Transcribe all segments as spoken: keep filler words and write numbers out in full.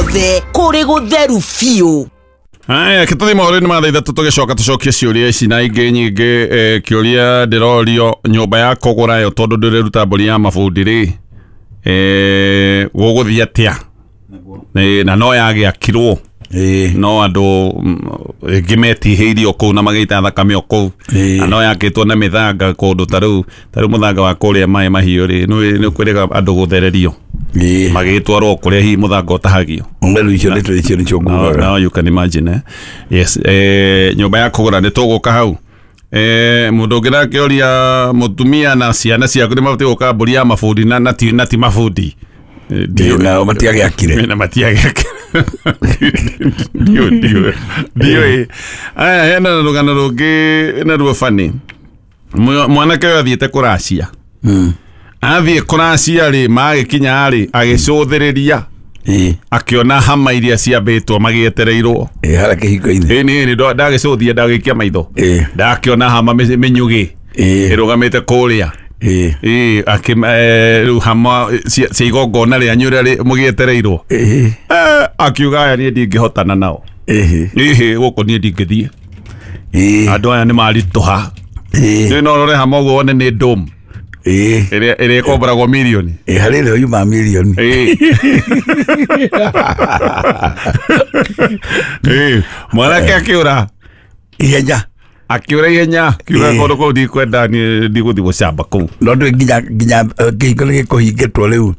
Guothe kũrĩ gũtheru biũ. Aya, kĩtũthi mohoro-inĩ ma thaa ithatũ tũgĩcoka tũcokie ciũria ici na ingĩ nyingĩ. eh, kĩũria ndĩrorio nyũmba ya kũgũra ĩyo tondũ ndĩreruta mbũri ya mabundi rĩ, eh, gũgũthiĩ atĩa? Eh, na no yagĩakirwo Ĩĩ. no andũ rĩngĩ metihĩirio kũu na magĩita thakame o kũu, Ĩĩ. na no yakĩtwo na mĩthanga kũndũ ta rĩu ta rĩu mũthanga wa kũrĩa maĩ mahiũ rĩ, nĩ kwĩrĩga andũ gũthererio Ĩĩ. magĩtwarwo kũrĩa hihi mũthanga ũtahagio. Rĩu icio nĩtũ icio nĩcio Now, ngugaga. now you can imagine, eh? Yes, eh, nyũmba ya kũgũra nĩ tũgũka hau. Eh, mũndũ ũngĩ nakĩoria mũtumia na ciana ciaku nĩ mabatiĩ gũka mbũri ya mabundi na, na, ti, na ti mabundi. Eh, Ĩĩ, nao matiagĩakire. Na matiagĩakire. Ndiũĩ, ndiũĩ, ndiũĩ. Aya, hena rũgano rũngĩ naruo bani. Mwanake ũyũ athiĩte kũracia. Athiĩ kũracia rĩ, magĩkinya rĩ, agĩcũthĩrĩria Ĩĩ. akĩona hama iria ciambĩtwo magĩetereirwo. Ĩĩ, harĩa kĩhingo-inĩ. Ĩĩ, nĩ nĩ ndagĩcũthia ndagĩikia maitho Ĩĩ. ndakĩona hama mĩ- mĩnyugĩ Ĩĩ. ĩrũgamĩte kũrĩa. Ĩĩ. Ĩĩ, akĩ eh, rĩu hama cia cia igongona rĩanyu rĩrĩa mũgĩetereirwo. Ĩĩ. Eh, akiuga aya niĩ ndingĩhotana nao. Ĩĩ. Ĩhĩ, gũkũ niĩ ndingĩthiĩ, Ĩĩ. andũ aya nĩ maritũha. Ĩĩ. Nĩ no ũrore hama ũguo wone nĩ ndũmu Ĩĩ. ĩrĩa ĩrĩa ĩkomboragwo mirioni. Ĩĩ, harĩ ĩrĩa yuma mirioni. Ĩĩ. Ĩĩ, mwanake akĩũra Ihenya. Akĩũra ihenya, akiuga Ĩĩ. kũndũ kũu ndikwenda niĩ ndigũthiĩ gũcamba kũu. No ndũĩ nginya nginya eh, kĩhingo nĩ gĩkũhingĩtwo rĩu.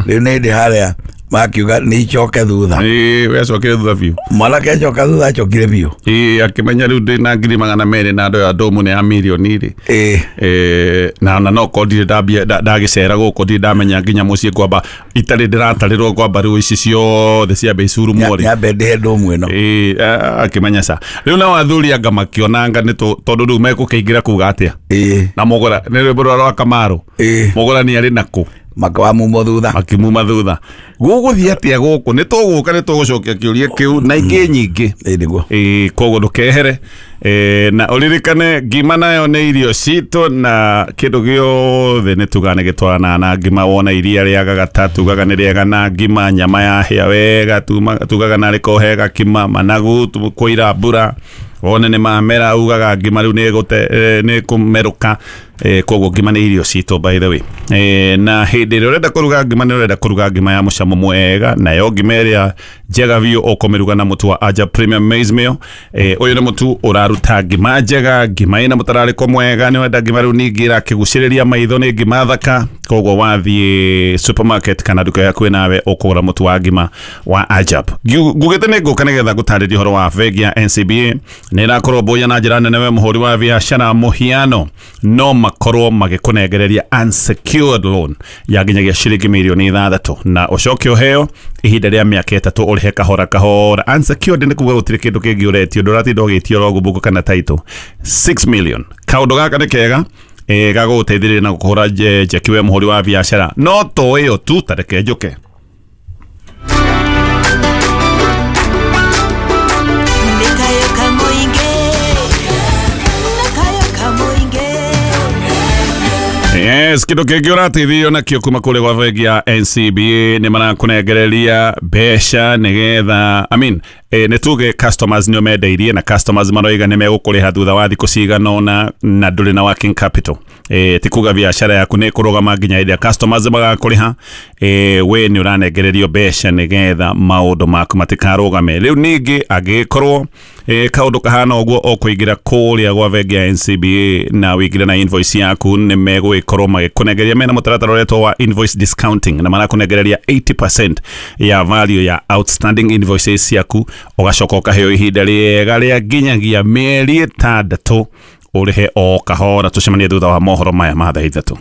Rĩu nĩ hĩndĩ harĩa makiuga nĩ icoke thutha. Ĩĩ, we acokire thutha biũ. Mwanake acoka thutha acokire biũ. Ĩĩ, akĩmenya rĩu ndĩ na ngiri magana merĩ na andũ aya ndũmũ nĩ ya mirioni rĩ. Ĩĩ. Eh, na na no ko ndirĩ ndambia nda- ndagĩcera gũkũ ndirĩ ndamenya nginya mũciĩ ngwamba itarĩ ndĩratarĩrwo ngwamba rĩu ici ciothe ciambe icurumwo rĩ. Nyambe ndĩhe ndũmũ ĩno. Ĩĩ, a- akĩmenya ca rĩu nao athuri anga makĩonanga nĩ tũ- tondũ rĩu megũkĩingĩra kuga atĩa Ĩĩ. na mũgũra nĩ rwĩmbo rwa rwa Kamaru. Ĩĩ. Mũgũra nĩ arĩ nakũ Makawamumwo thutha. Makimuma thutha. Gũgũthiĩ atĩa gũkũ? Nĩ tũgũka nĩ tũgũcokia kĩũria kĩu na ingĩ nyingĩ. Ĩĩ, nĩguo. Ĩĩ, koguo ndũkehere. Ĩĩ, na ũririkane ngima nayo nĩ irio citũ na kĩndũ gĩothe nĩ tugaga nĩ gĩtwaranaga na ngima. Wona iria rĩa gagata tugaga nĩ rĩega na ngima, nyama yahĩa wega tuma- tugaga narĩ kohe gakima, managu tu- kũira mbura wone nĩ mamera ugaga ngima rĩu nĩ ĩgũte- eh, nĩ kũmerũka. Eh, koguo ngima nĩ irio citũ by the way. Eh, na hĩndĩ ĩrĩa ũrenda kũruga ngima nĩ ũrenda kũruga ngima ya mũcamo mwega, nayo ngima ĩrĩa njega biũ ũkũmĩruga na mũtu wa Aja Premium Maize Meal. Eh, ũyũ nĩ mũtu ũraruta ngima njega, ngima ĩna mũtararĩko mwega. Nĩ wenda ngima rĩu ningĩ ĩrakĩgucĩrĩria maitho, nĩ ngima thaka. Koguo wathiĩ supermarket kana nduka yaku nawe ũkũgũra mũtu wa ngima wa Ajab. Ngiu- ngugĩte nĩ ngũka nĩgetha ngũtarĩrie ũhoro wa bengi ya N C B A. Nĩ ĩrakorwo mbũya na njĩra nene we mũhũri wa biacara mũhiano no makorwo magĩkũnengereria unsecured loan ya nginyagia ciringi mirioni ithathatũ na ũcoke ũheo ihinda rĩa mĩaka ĩtatũ ũrĩhe kahora kahora. Unsecured nĩ kuga gũtirĩ kĩndũ kĩngĩ ũretio, ndũratinda ũgĩtio logbook kana title. six million. Kaũndũ gaka nĩ kega eh, gagũgũteithĩrĩria na gũkũhũra nje- njeki we mũhũri wa biacara. No to ĩyo tu, ta reke njũke. Yes, kĩndũ kĩngĩ ũrateithio nakĩo kuma kũrĩa gwa bengi ya N C B A nĩ marakũnengereria mbeca nĩgetha, I mean, eh, nĩ tuge customers nĩo mendeirie na customers maroiga nĩ megũkũrĩha thutha wa thikũ cigana ũna na ndũrĩ na working capital. Eh, ti kuga biacara yaku nĩ ĩkũrũgama nginya hĩndĩ ĩrĩa customers magakũrĩha. Eh, we nĩ ũranengererio mbeca nĩgetha maũndũ maku matikarũgame. Rĩu ningĩ angĩkorwo eh, kaũndũ kahana ũguo ũkũingĩra kũrĩa gwa bengi ya N C B A na wĩingĩre na invoice yaku nĩ megũgĩkorwo magĩkũnengereria mena mũtaratara ũretwo wa invoice discounting na marakũnengereria eighty percent ya value ya outstanding invoices ciaku, ũgacoka ũkaheo ihinda rĩega rĩa nginyagia mĩeri ĩtandatũ ũrĩhe o kahora. Tũcemanie thutha wa mohoro maya ma thaa ithatũ.